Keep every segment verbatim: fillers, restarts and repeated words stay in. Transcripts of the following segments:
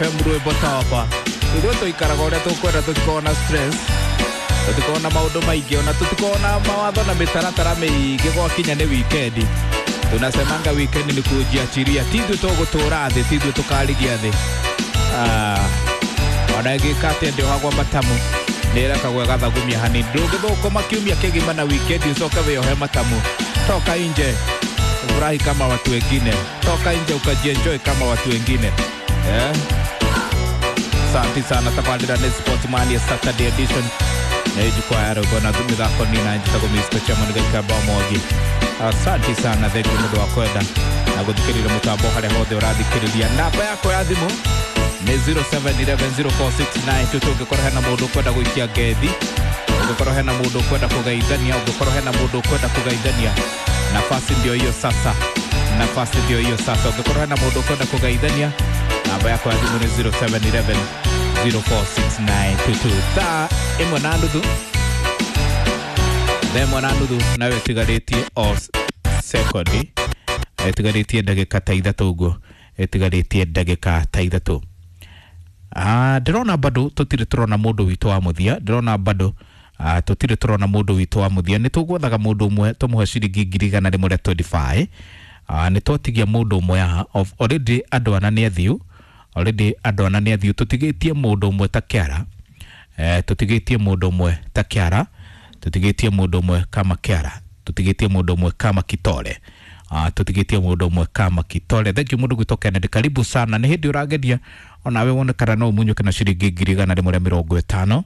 F M rwĩmbo topa. Ithuĩ tũikaraga ũrĩa tũkwenda, tũtikoragwo na stress, tũtikoragwo na maũndũ maingĩ, ona tũtikoragwo na mawatho na mĩtaratara mĩingĩ. Gwakinya nĩ wikendi, tunasemanga wikendi ni kujiachiria. Ti ithuĩ tũgũtũra thĩ, ti ithuĩ tũkarigia thĩ. Ah, ona ĩgĩka atĩa, ndĩohagwo matamu, nĩ ĩrekagwo ĩgathagumia hanini. Ndũngĩthũkũma kiumia kĩgima na wikendi ũcoke wĩohe matamu. Toka nje ufurahi kama watu wengine, toka nje ukajienjoy kama watu wengine, yeah. Asante sana. Tabarĩra nĩ Sportman ya Saturday edition nĩ jukwaa ya rwĩmbo na mĩthako nina njĩtagwo Mister Chairman Gaikamba Mwangi. Asante sana, thank you nĩ ũndũ wa kwenda na gũthikĩrĩria mũtambo harĩa hothe ũrathikĩrĩria. Namba yakwa ya thimũ nĩ zero seven one one zero four six nine two two. Ũngĩkorwo hena mũndũ ũkwenda gũikia ngethi, ũngĩkorwo hena mũndũ ũkwenda kũgeithania, ũngĩkorwo hena mũndũ ũkwenda kũgeithania, nafasi ndio hiyo sasa, nafasi ndio hiyo sasa. Ũngĩkorwo hena mũndũ ũkwenda kũgeithania, namba yakwa ya thimũ nĩ zero seven one one zero four six nine two two. Thaa ĩmwe na nuthu, thaa ĩmwe na nuthu, nawe ĩtigarĩtie o sekondi, ĩtigarĩtie ndagĩka ta ithatũ ũguo, ĩtigarĩtie ndagĩka ta ithatũ. Ah, ndĩrona bado tũtirĩ tũrona mũndũ witũ wa mũthia. Ndĩrona bado ah, tũtirĩ tũrona mũndũ witũ wa mũthia. Nĩ tũgwethaga mũndũ ũmwe tũmũhe ciringi ngiri igana rĩmwe rĩa mĩrongo ĩrĩ na ithano. Ah, nĩ twatigia mũndũ ũmwe haha. Of already andũ ana nĩ athiu, already andũ ana nĩ athiu. Tũtigĩtie mũndũ ũmwe ta kĩara, eh, tũtigĩtie mũndũ ũmwe ta kĩara, tũtigĩtie mũndũ ũmwe kama kĩara, tũtigĩtie mũndũ ũmwe kama kitore. Uh, tũtigĩtie mũndũ ũmwe kama kitore. Thank you mũndũ gwĩtwo Kennedy, karibu sana. Nĩ hĩndĩ ũrageria onawe wone kana no ũmunyũke na ciringi ngiri igana rĩmwe rĩa mĩrongo ĩtano,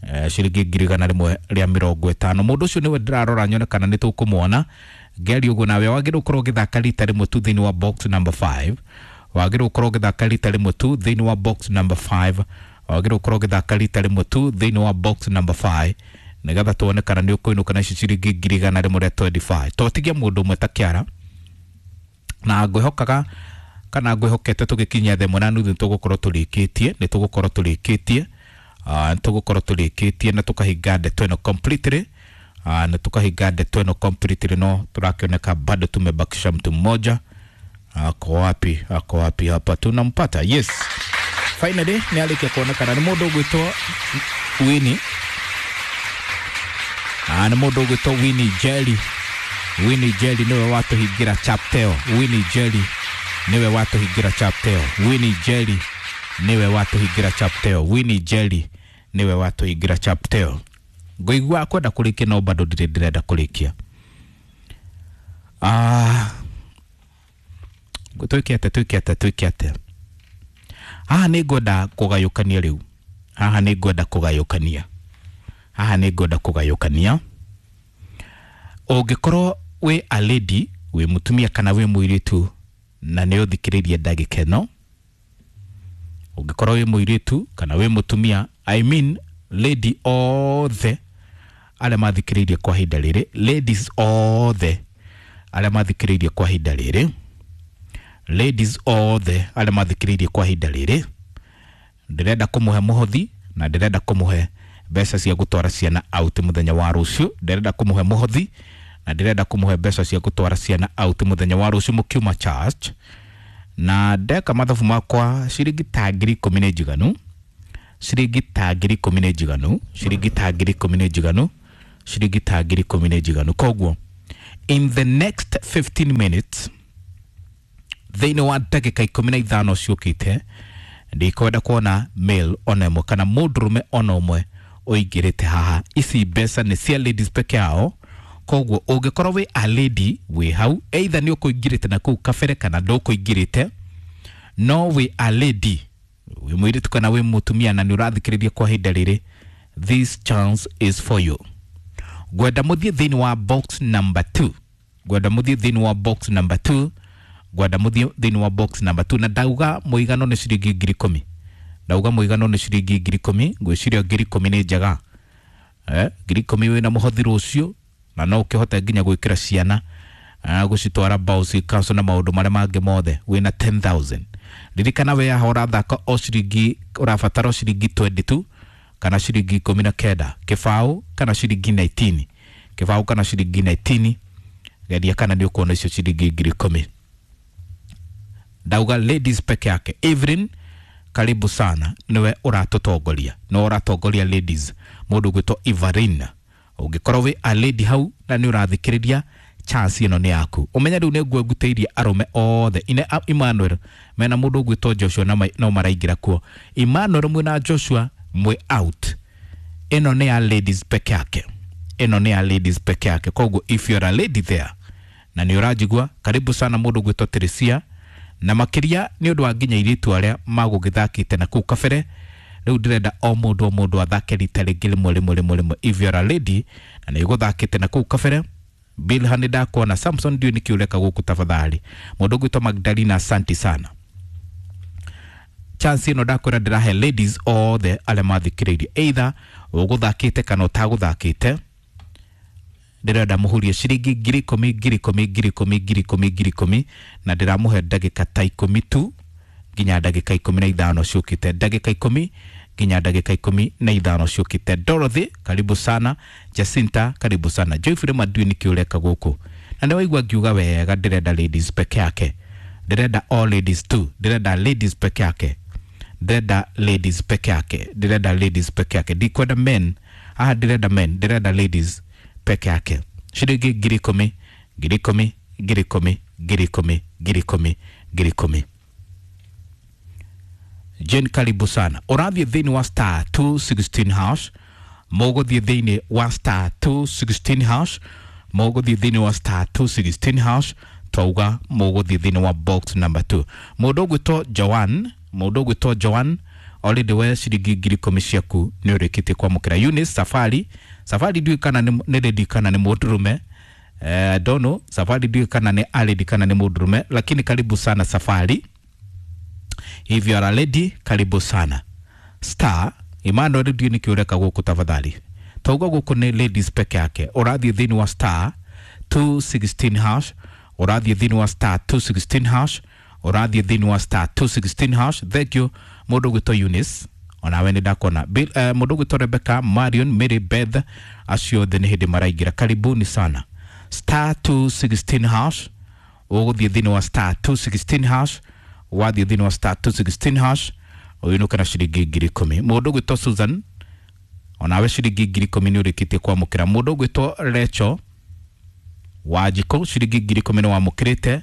eh, ciringi ngiri igana rĩmwe rĩa mĩrongo ĩtano. Mũndũ ũcio nĩwe ndĩrarora nyone kana nĩ tũkũmuona. Ngeri ũguo nawe wagĩrĩirwo ũkorwo ũgĩthaka rita rĩmwe tu thĩinĩ wa box number five. Wagĩrĩirwo ũkorwo ũgĩthaka rita rĩmwe tu thĩinĩ wa box number five. Wagĩrĩirwo ũkorwo ũgĩthaka rita rĩmwe tu thĩinĩ wa box number five nĩgetha tuone kana nĩ ũkũinũka na ici ciringi ngiri igana rĩmwe rĩa mĩrongo ĩrĩ na ithano. Twatigia mũndũ ũmwe ta kĩara na ngwĩhokaga kana ngwĩhokete tũgĩkinyia thaa ĩmwe na nuthu nĩ tũgũkorwo tũrĩkĩtie, nĩ tũgũkorwo tũrĩkĩtie, ah, nĩ tũgũkorwo tũrĩkĩtie na tũkahinga ndeto ĩno completely, ah, na tukahinga ndeto ĩno completely. No tũrakĩoneka bado tumebakisha mtu mmoja. Ako wapi? Ako wapi? Hapa tunampata. Yes, finally nĩ arĩkia kuonekana. Nĩ mũndũ ũgwĩtwo Winnie. Ah, nĩ mũndũ ũgwĩtwo Winnie Jelly. Winnie Jelly nĩwe watũhingĩra chapter ĩyo. Winnie Jelly nĩwe watũhingĩra chapter ĩyo. Winnie Jelly nĩwe watũhingĩra chapter ĩyo. Winnie Jelly nĩwe watũhingĩra chapter ĩyo. Ngũigua kwenda kũrĩkia no bado ndirĩ ndĩrenda kũrĩkia. Ah, twĩke atĩa? Twĩke atĩa? Twĩke atĩa? Haha nĩ ngwenda kũgayũkania rĩu. Haha nĩ ngwenda kũgayũkania, haha nĩ ngwenda kũgayũkania. Ũngĩkorwo wĩ a lady, wĩ mũtumia kana wĩ mũirĩtu na nĩ ũthikĩrĩirie ndagĩka ĩno, ũngĩkorwo wĩ mũirĩtu kana wĩ mũtumia, I mean lady othe arĩa mathikĩrĩirie kwa ihinda rĩrĩ, ladies othe arĩa mathikĩrĩirie kwa ihinda rĩrĩ, ladies othe arĩa mathikĩrĩirie kwa ihinda rĩrĩ, ndĩrenda kũmũhe mũhothi na ndĩrenda kũmũhe mbeca cia gũtwara ciana out mũthenya wa rũciũ. Ndĩrenda kũmũhe mũhothi na ndĩrenda kũmũhe mbeca cia gũtwara ciana out mũthenya wa rũciũ mũkiuma church. Na ndeka mathabu makwa, ciringi ta ngiri ikũmi nĩ njiganu, ciringi ta ngiri ikũmi nĩ njiganu, ciringi ta ngiri ikũmi nĩ njiganu, ciringi ta ngiri ikũmi nĩ njiganu. Koguo in the next fifteen minutes, thĩinĩ wa ndagĩka ikũmi na ithano ciũkĩte, ndikwenda kuona male ona ĩmwe kana mũndũrũme ona ũmwe ũingĩrĩte haha. Ici mbeca nĩ cia ladies peke yao. Koguo ũngĩkorwo wĩ a lady wĩ hau, either nĩ ũkũingĩrĩte na kũu kabere kana ndũkũingĩrĩte, no wĩ a lady, wĩ mũirĩtu kana wĩ mũtumia na nĩ ũrathikĩrĩria kwa ihinda rĩrĩ, this chance is for you. Ngwenda mũthiĩ thĩinĩ wa box number two. Ngwenda mũthiĩ thĩinĩ wa box number two. Ngwenda mũthiĩ thĩinĩ wa box number two. Na ndauga mũigano nĩ ciringi ngiri ikũmi. Ndauga mũigano nĩ ciringi ngiri ikũmi. Ngwĩciria ngiri ikũmi nĩ njega, eh, ngiri ikũmi wĩna mũhothi rũciũ na no ũkĩhote nginya gwĩkĩra ciana, ah, gũcitwara bouncy castle na maũndũ marĩa mangĩ mothe wĩna ngiri ikũmi. Ririkana we haha ũrathaka o ciringi, ũrabatara o ciringi mĩrongo ĩrĩ na igĩrĩ kana ciringi ikũmi na kenda, kĩbaũ kana ciringi ikũmi na kenda, kĩbaũ kana ciringi ikũmi na kenda. Geria kana nĩ ũkuona icio ciringi ngiri ikũmi. Ndauga ladies peke yake. Evelyn karibu sana, niwe ũratũtongoria, nĩwe ũratongoria ladies, mũndũ ũgwĩtwo Evelyn. Ũngĩkorwo wĩ a lady hau na nĩ ũrathikĩrĩria, chance ĩno nĩ yaku. Ũmenye rĩu nĩ ngwengutĩirie arũme othe ine Emmanuel mena mũndũ ũgwĩtwo Joshua na no maraingĩra kuo. Emmanuel mwĩna Joshua mwĩ out. Ĩno nĩ ya ladies peke yake, ĩno nĩ ya ladies peke yake. Koguo if you're a lady there na nĩ ũranjigua, karibu sana mũndũ ũgwĩtwo Teresia, na makĩria nĩ ũndũ wa nginya airĩtu arĩa magũgĩthakĩte na kũu kabere. Rĩu ndĩrenda o mũndũ o mũndũ athake rita rĩngĩ rĩmwe rĩmwe rĩmwe rĩmwe. If you're a lady na nĩ ũgũthakĩte na kũu kabere, Bilha nĩ ndakuona, Samson ndiũĩ nĩkĩ ũreka gũkũ tafadhali. Mũndũ ũgwĩtwo Magdalena, asante sana. Chance ĩno ndakwĩra ndĩrahe ladies othe arĩa mathikĩrĩirie, either ũgũthakĩte kana ũtagũthakĩte, ndĩrenda mũhurie ciringi ngiri ikũmi ngiri ikũmi ngiri ikũmi ngiri ikũmi ngiri ikũmi, na ndĩramũhe ndagĩka ta ikũmi tu nginya ndagĩka ikũmi na ithano ciũkĩte, ndagĩka ikũmi nginya ndagĩka ikũmi na ithano ciũkĩte. Dorothy karibu sana, Jacinta karibu sana, Joyfrey Madui nĩkĩ ũreka gũkũ? Na nĩ waigua ngiuga wega, ndĩrenda ladies peke yake, ndĩrenda all ladies tu, ndĩrenda ladies peke yake, ndĩrenda ladies peke yake, ndĩrenda ladies peke yake, ndikwenda men haha, ndĩrenda men, ndĩrenda ladies peke yake. Ciringi ngiri ikũmi ngiri ikũmi ngiri ikũmi ngiri ikũmi ngiri ikũmi ngiri ikũmi. Jane karibu sana. Ũrathiĩ thĩinĩ wa star two sixteen hash, mũgũthiĩ thĩinĩ wa star two sixteen hash, mũgũthiĩ thĩinĩ wa star two sixteen hash, twauga mũgũthiĩ thĩinĩ wa box number two. Mũndũ ũgwĩtwo Joan, mũndũ ũgwĩtwo Joan already we ciringi ngiri ikũmi ciaku nĩ ũrĩkĩtie kwamũkĩra. Eunice Safari, Safari ndiũĩ kana nĩ lady kana nĩ mũndũrũme, eh, don't know, Safari ndiũĩ kana nĩ a lady kana nĩ mũndũrũme, lakini karibu sana Safari. If you are a lady, karibu sana. Star Emmanuel ndiũĩ nĩkĩ ũreka gũkũ tafadhali. Twauga gũkũ nĩ ladies peke yake. Ũrathiĩ thĩinĩ wa star two sixteen hash, ũrathiĩ thĩinĩ wa star two sixteen hash, ũrathiĩ thĩinĩ wa star two sixteen hash. Thank you mũndũ ũgwĩtwo Eunice, onawe nĩ ndakuona. Bill, uh, mũndũ ũgwĩtwo Rebecca, Marion, Mary Beth, acio othe nĩ hĩndĩ maraingĩra, karibuni sana. Star two sixteen hash, ũgũthiĩ thĩinĩ wa star two sixteen hash, wathiĩ thĩinĩ wa star two sixteen hash ũinũke na ciringi ngiri ikũmi. Mũndũ ũgwĩtwo Susan, onawe ciringi ngiri ikũmi nĩ ũrĩkĩtie kwamũkĩra. Mũndũ ũgwĩtwo Rachel Wanjikũ, ciringi ngiri ikũmi nĩ wamũkĩrĩte.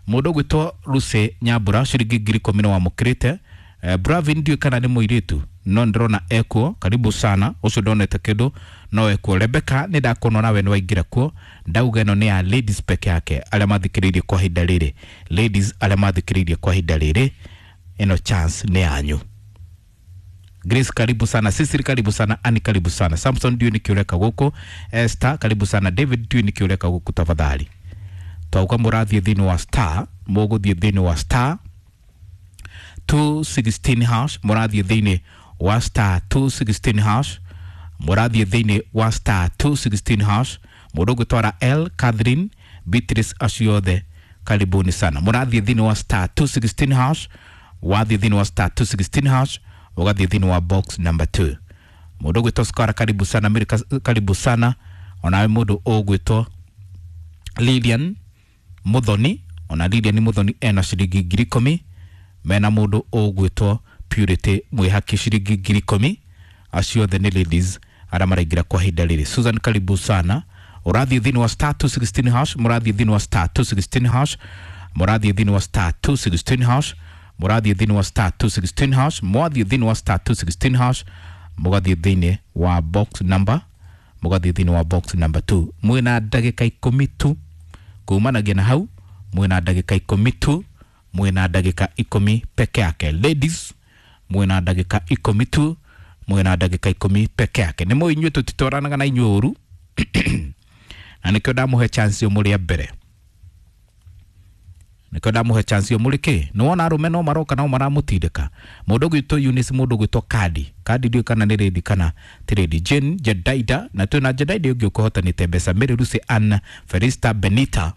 Mũndũ ũgwĩtwo Lucy Nyambura, ciringi ngiri ikũmi nĩ wamũkĩrĩte. Eh, Bravin ndiũĩ kana nĩ mũirĩtu no ndĩrona ekuo, karibu sana, ũcio ndonete kĩndũ no ekuo. Rebecca nĩ ndakuona nawe nĩ waingĩra kuo, ndauga ĩno nĩ ya ladies peke yake arĩa mathikĩrĩirie kwa ihinda rĩrĩ, ladies arĩa mathikĩrĩirie kwa ihinda rĩrĩ, ĩno chance nĩ yanyu. Grace karibu sana, Cecily karibu sana, Annie karibu sana, Samson ndiũĩ nĩkĩ ũreka gũkũ, Esther karibu sana, David ndiũĩ nĩkĩ ũreka gũkũ tafadhali. Twauga mũrathiĩ thĩinĩ wa star, mũgũthiĩ thĩinĩ wa star two sixteen hash, mũrathiĩ thĩinĩ wa star two sixteen hash, mũrathiĩ thĩinĩ wa star two sixteen hash. Mũndũ ũgwĩtwara L Catherine Beatrice, acio othe karibuni sana. Mũrathiĩ thĩinĩ wa star two sixteen hash, wathiĩ thĩinĩ wa star two sixteen hash, ũgathiĩ thĩinĩ wa box number two. Mũndũ ũgwĩtwo Skara karibu sana, Mary karibu sana, onawe mũndũ ũgwĩtwo Lilian Muthoni, ona Lilian Muthoni ena ciringi ngiri ikũmi, mena mũndũ ũgwĩtwo Purity Mwĩhaki ciringi ngiri ikũmi. Acio othe nĩ ladies arĩa maraingĩra kwa ihinda rĩrĩ. Susan karibu sana. Ũrathiĩ thĩinĩ wa star two sixteen hash, mũrathiĩ thĩinĩ wa star two sixteen hash, mũrathiĩ thĩinĩ wa star two sixteen hash, mũrathiĩ thĩinĩ wa star two sixteen hash, mwathiĩ thĩinĩ wa star two sixteen hash, mũgathiĩ thĩinĩ wa box number, mũgathiĩ thĩinĩ wa box number two. Mwĩna ndagĩka ikũmi tu kumanagia na hau, mwĩna ndagĩka ikũmi tu, mwĩna ndagĩka ikũmi peke yake. Ladies mwĩna ndagĩka ikũmi tu, mwĩna ndagĩka ikũmi peke yake. Nĩ mũĩ inyuĩ tũtitwaranaga na inyuĩ ũru na nĩkĩo ndamũhe chance yo mũrĩ a mbere, nĩkĩo ndamũhe chance yo mũrĩ kĩ. Nĩ wona arũme no maroka no maramũtindĩka. Mũndũ ũgwĩtwo Eunice, mũndũ ũgwĩtwo Kadi, Kadi ndiũĩ kana nĩ lady kana ti lady. Jane Jedaida, na twĩna Jedaida ũngĩ ũkũhotanĩte mbeca. Mary Lucy Ann Felista Benita,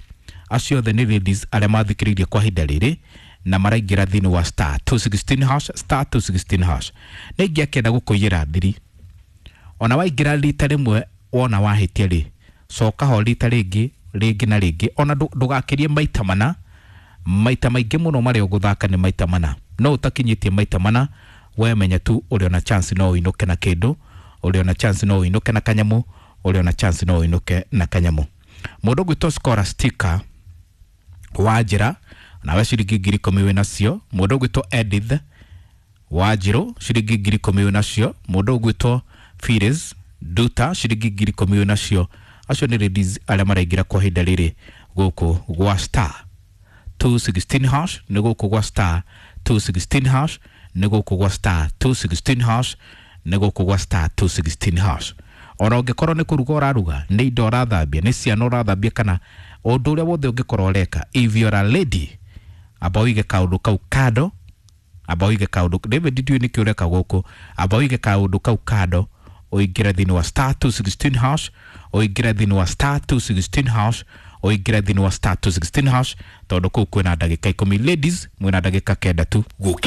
acio othe nĩ ladies arĩa mathikĩrĩirie kwa ihinda rĩrĩ na maraingĩra thĩinĩ wa star two sixteen hash, star two sixteen hash. Nĩ ingĩakenda gũkũiyĩra thiri, ona waingĩra rita rĩmwe wona wahĩtia rĩ, coka ho rita rĩngĩ rĩngĩ na rĩngĩ, ona ndũgakĩrie maita mana, maita maingĩ mũno marĩa ũgũthaka nĩ maita mana. No ũtakinyĩtie maita mana, we menya tu ũrĩ ona chance no ũinũke na kĩndũ, ũrĩ ona chance no ũinũke na kanyamũ, ũrĩ ona chance no ũinũke na kanyamũ. Mũndũ ũgwĩtwo Scholastica wa njĩra, nawe ciringi ngiri ikũmi wĩ nacio. Mũndũ ũgwĩtwo Edith Wanjirũ, ciringi ngiri ikũmi wĩ nacio. Mũndũ ũgwĩtwo Phyllis Duta, ciringi ngiri ikũmi wĩ nacio. Acio nĩ ladies arĩa maraingĩra kwa ihinda rĩrĩ gũkũ gwa star two sixteen hash, nĩ gũkũ gwa star two sixteen hash, nĩ gũkũ gwa star two sixteen hash, nĩ gũkũ gwa star two sixteen hash. Ona ũngĩkorwo nĩ kũruga ũraruga, nĩ indo ũrathambia, nĩ ciana ũrathambia, kana ũndũ ũrĩa wothe ũngĩkorwo ũreka, if you're a lady, amba ũige kaũndũ kau kando, amba ũige kaũndũ. David, ndiũĩ nĩkĩ ũreka gũkũ. Amba ũige kaũndũ kau kando, ũingĩre thĩinĩ wa star two sixteen hash, ũingĩre thĩinĩ wa star two sixteen hash, ũingĩre thĩinĩ wa star two sixteen hash, tondũ kũu kwĩna ndagĩka ikũmi. Ladies, mwĩna ndagĩka kenda tu. Gũkĩra.